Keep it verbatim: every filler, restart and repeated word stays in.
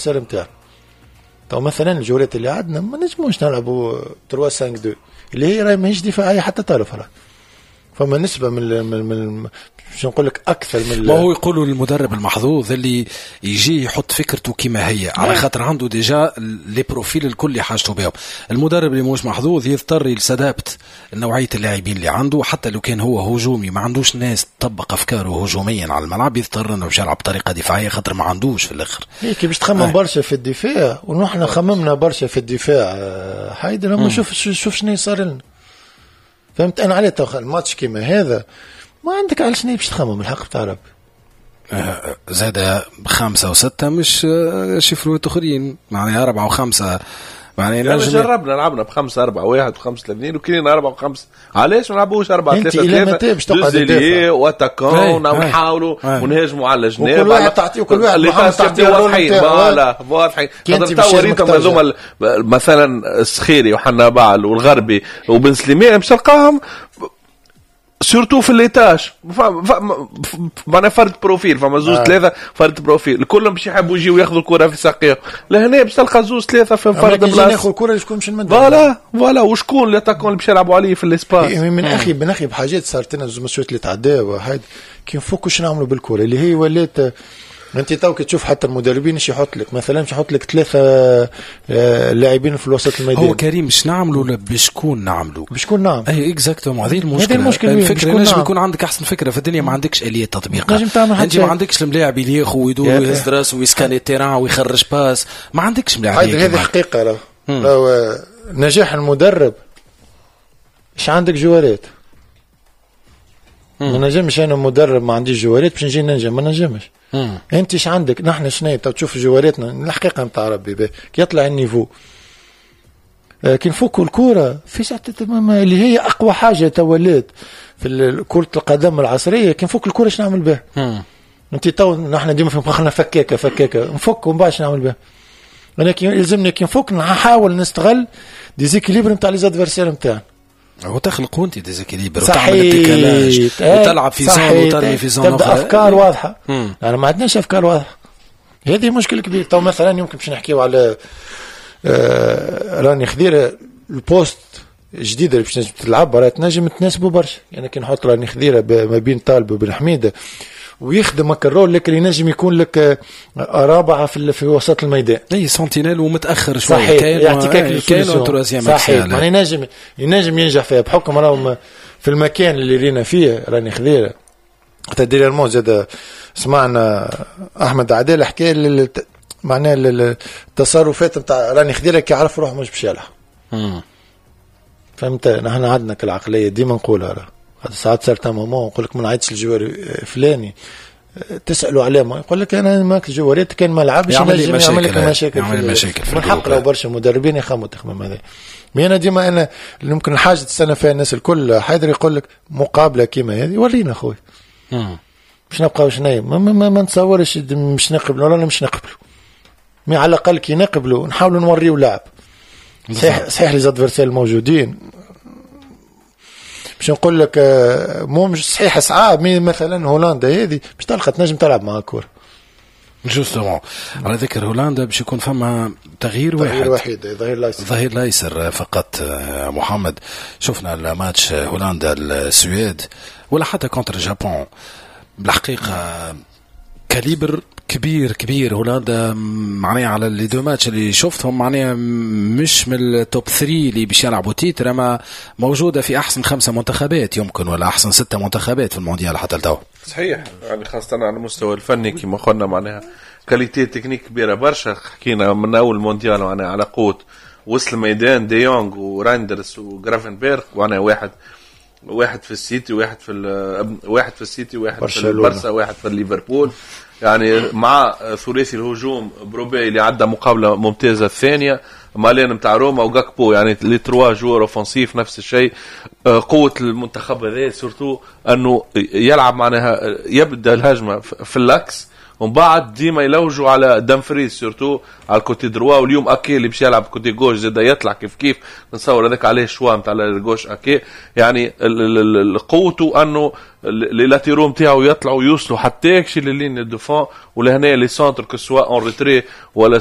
نتاعنا. تو مثلا الجولات اللي عندنا ما نجموش نلعبوا ثلاثة خمسة اثنين اللي هي راهي ماهيش دفاعية حتى طرف، راه فما نسبه من من من باش نقول لك اكثر من ما هو يقولوا المدرب المحظوظ اللي يجي يحط فكرته كما هي، على خاطر عنده déjà les profils الكل اللي حاجته بهم. المدرب اللي مش محظوظ يضطر ي s'adapte نوعية اللاعبين اللي عنده، حتى لو كان هو هجومي ما عندوش ناس تطبق افكاره هجوميا على الملعب، يضطر انه باش يلعب بطريقة دفاعية خاطر ما عندوش في الاخر. هيك باش تخمم برشا في الدفاع، ونحن خممنا برشا في الدفاع حيدر، لما شوف شوف شنو صار لنا. فهمت انا عليه الماتش كيما هذا ما عندك على شنو باش تخمم الحق بتاع ربي. زاد خمسة وستة مش chiffre ات اخرين، معناها أربعة وخمسة، معناها يعني جربنا لعبنا بخمسة أربعة واحد وخمسة اثنين وكلينا أربعة وخمسة، علاش ما نلعبوش أربعة ثلاثة ثلاثة باش تقعد و attaquants ونحاولوا ونهاجموا على الجناب، وكل واحد تعطيه كل واحد تعطيه واضحين voilà واضحين. خاطر تو ريتهم هذوما مثلا السخيري وحنا بعل والغربي وبن سليمان باش تلقاهم surtout في les tâches معناها فرد profil، فما زوز ثلاثة فرد profil كلهم باش يحبوا يجيو ياخذوا الكره في ساقيهم. لهنا باش تلقى زوز ثلاثة في فرد بلاصة ياخذ الكره شكون باش نمد voilà voilà وشكون l'attaquant اللي باش يلعبوا عليه في l'espace. من اخي من اخي بحاجات صارت لنا زوج ماتشات اللي تعداو هاد كي نفكوا شنو نعملوا بالكرة اللي هي ولات. انت تو كي تشوف حتى المدربين ايش يحط لك، مثلا باش يحط لك ثلاثة لاعبين في الوسط الميدان. هو كريم باش نعملوا بشكون نعملوا بشكون نعمل اي exactement. هذه المشكلة، المشكلة الفكرة نجم يكون عندك احسن فكرة في الدنيا ما عندكش اليه تطبيقها، انت ما عندكش الملاعب اللي ياخذ ويدور ويهز راسه ويسكاني ال terrain ويخرج passe، ما عندكش ملاعب. هذه حقيقة راه نجاح المدرب ايش عندك joueur ات. ما نجمش انا مدرب ما عنديش joueur ات باش نجي ننجم، ما نجمش. انت ايش عندك؟ نحن شنو تشوف joueur اتنا الحقيقة نتاع ربي كي يطلع ال niveau كي نفكوا الكورة في ساعة اللي هي اقوى حاجة تولات في كره القدم العصرية، كي نفك الكورة اش نعمل بها؟ انت تو نحن ديما في مخنا فكاكه فكاكه نفك ومن بعد نعمل بها. انا كي يلزمني كي نفك نحاول نستغل déséquilibre نتاع les adversaires نتاعنا. وتخلق انت déséquilibre وتعمل ال décalage وتلعب في zone وترمي في zone اخرى، تبدا افكار واضحة. يعني ما عندناش افكار واضحة، هذه مشكلة كبيرة. تو مثلا يمكن باش نحكيو على آه راني خضيره ال poste الجديدة اللي باش تنجم تلعب راه تنجم تناسبه برشا. يعني كي نحط راني خضيره ما بين طالب وبن حميده ويخدم هكا ال rôle، لكن ينجم يكون لك رابعه في في وسط الميدان، اي sentinelle ومتاخر شوية، كاين يعطيك كاين صحيح، يعني ينجم ينجم ينجح فيها بحكم راهو في المكان اللي رينا فيه راني خضيره. حتى dernièrement زاد سمعنا احمد عدال حكى معناها التصرفات نتاع راني خضيره كي يعرف روحه مش باش يلعب. فهمت؟ نحن عندنا كالعقليه ديما نقولها راه ساعات certains moments نقول لك ما نعيطش ال joueur فلاني، تسالوا عليه ما يقول لك انا ماك joueur ات كان ما لعبش يعمل لك مشاكل، يعمل مشاكل. من حق لو برشا مدربين يخموا تخمم هذا. mais انا ديما انا ممكن الحاجة تستنى فيها الناس الكل حيدر يقول لك مقابله كيما هذه ورينا خويا باش نبقاو شنايا ما, ما, ما, ما نتصورش مش نقبلوا ولا مش نقبلوا، mais على الاقل كي نقبلوا نحاولوا نوريو لعب صحيح. صحيح les adversaires الموجودين باش نقول لك مو مش صحيح صعاب، mais مثلا هولندا هذه باش تلقى تنجم تلعب مع كورة. justement على ذكر هولندا باش يكون فما تغيير واحد، تغيير وحيد ظهير الايسر، ظهير الايسر فقط. محمد شفنا الماتش هولندا السويد ولا حتى contre Japon، بالحقيقة calibre كبير كبير هولندا، معناها على les deux matchs اللي شفتهم معناها مش من ال top ثلاثة اللي باش يلعبوا titre، اما موجودة في احسن خمسة منتخبات يمكن ولا احسن ستة منتخبات في المونديال حتى لتو. صحيح، يعني خاصة على المستوى الفني كما قلنا معناها qualité technique كبيرة برشا. حكينا من اول مونديال معناها على قوة وصل الميدان دي يونغ وراندرز وغرافنبرغ، معناها واحد واحد في السيتي واحد في واحد في السيتي واحد في البرسا واحد في ليفربول. يعني مع ثلاثي الهجوم بروبي اللي عدى مقابله ممتازة الثانية، مالين نتاع روما وغاكبو، يعني les trois joueurs offensifs نفس الشيء. قوة المنتخب هذا surtout انه يلعب معناها يبدا الهجمة في l'axe ومن بعد ديما يلوجوا على دامفريز surtout على ال côté droit. واليوم اكي اللي باش يلعب côté gauche زاد يطلع كيف كيف، نتصور هذاك عليه choix نتاع ال gauche اكي. يعني قوته انه les latéraux نتاعو يطلعوا يوصلوا حتى يكشي لل ligne de fond، ولهنا les centres que ce soit en retrait ولا